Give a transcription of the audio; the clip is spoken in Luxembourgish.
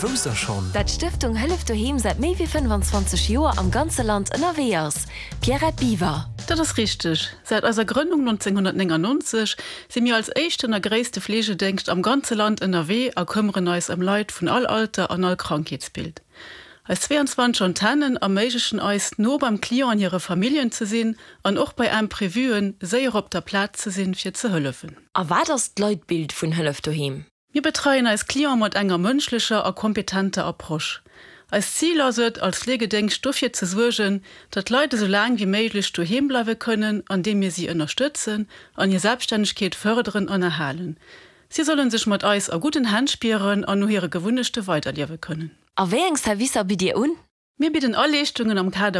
Wousst der schonn? Dat d'Stëftung Hëllef Doheem säit méi wéi 25 Joer am ganze Land ënnerwee ass? Pierrette Biwer. Dat ass richteg. Säit eiser Grënnung 1999 si mir als éischten a gréisste Fleegedéngscht am ganze Land ënnerwee a këmmeren eis ëm Leit vun all Alter an all Krankheetsbild. Eis 22 Antennen erméiglechen eis, no beim Client an hire Familljen ze sinn an och bei Imprevuen séier op der Plaz ze sinn, fir ze hëllefen. A wat ass d'Leitbild vun Hëllef Doheem? Mir betreien eis Cliente mat enger mënschlecher a kompetenter Approche. Eist Zil ass et, als Fleegedéngscht dofir ze suergen, datt d'Leit esou laang wéi méiglech doheem bleiwe kënnen, andeem mir si ënnerstëtzen an hir Selbststännegkeet fërderen an erhalen. Si solle sech mat eis a gudden Hänn spieren an no hire Gewunnechte weiderliewe kënnen. A wéi eng Servicer bitt Dir un? Mir bidden all Leeschtungen am Kader.